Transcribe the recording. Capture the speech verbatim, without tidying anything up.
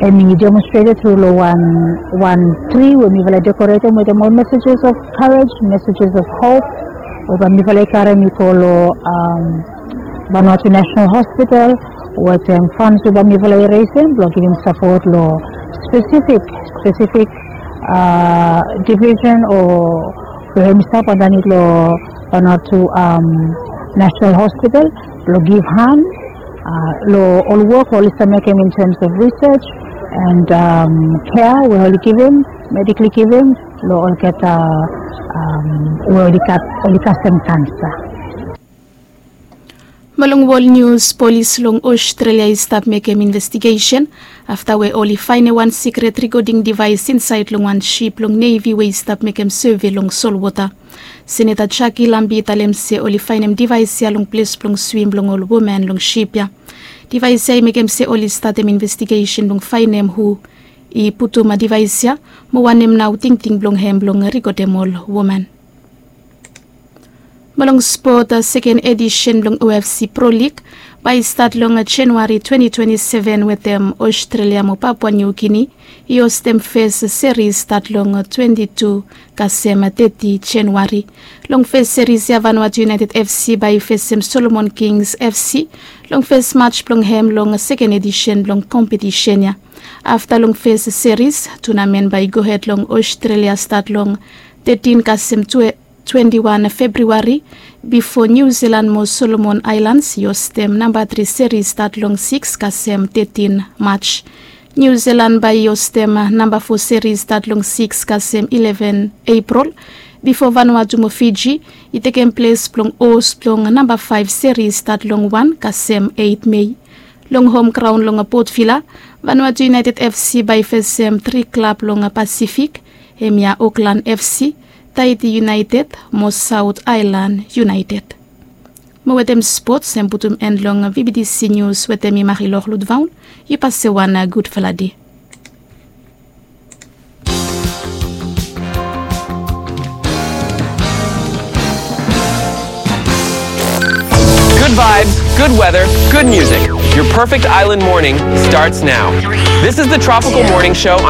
Em i demonstrated through lo wan wan tri we mifala i dekoretem wetem ol messages of courage, messages of hope, we bae mifala i karem i go lo um, Vanuatu National Hospital wetem funds we bae mifala i resem blong givim sapot lo specific specific uh, division o we hem i stap andanit lo Vanuatu um, National Hospital blong give hand uh, lo ol wok oli stap mekem in terms of research and um, care we oli givim, medically givim lo olgeta um, we oli gat oli kasem kansa. Mo long wol nius, polis long Australia i stap mekem investigesen afta we oli faenem wan sikret rikoding devaes insaed long wan sip blong Navy we i stap mekem sove long solwota. Seneta Jackie Lambie i talem se oli faenem devaes ya long ples blong swim blong ol woman long sip ya. Devaes ya i mekem se oli statem investigesen blong faenem hu i putum devaes ya, mo wanem nao tingting blong hem blong rikodem ol woman. Mo long spot, seken edisen blong O F C Pro League bae i stat long Januari twenti twenti seven wetem Australia mo Papua New Guinea i hostem fes seris stat long twenti tu kasem teti Januari. Long fes seris ya Vanuatu United F C bae i fesem Solomon Kings F C long fes mats blong hem long seken edisen blong kompetisen ya. Afta long fes seris, tunamen bae i gohed long Australia stat long tetin kasem twenti wan Februari bifo Niu Jilan mo Solomon Aelans i hostem namba tri seris stat long sikis kasem tetin Mats. Niu Jilan bae i hostem namba fo seris stat long sikis kasem ileven Epril bifo Vanuatu mo Fiji i tekem ples blong hos blong namba faef seris stat long wan kasem eit Mei. Long hom graon long Port Vila, Vanuatu United F C bae i fesem tri klab long Pasifik, hemia Auckland F C, Tahiti United mo South Island United. Mo wetem spots hem putum en long V B T C Nius wetem mi Marilor Ludvaun. Yu pase wan gudfala dei. Good vibes, good weather, good music. Your perfect island morning starts now. This is the Tropical Morning Show on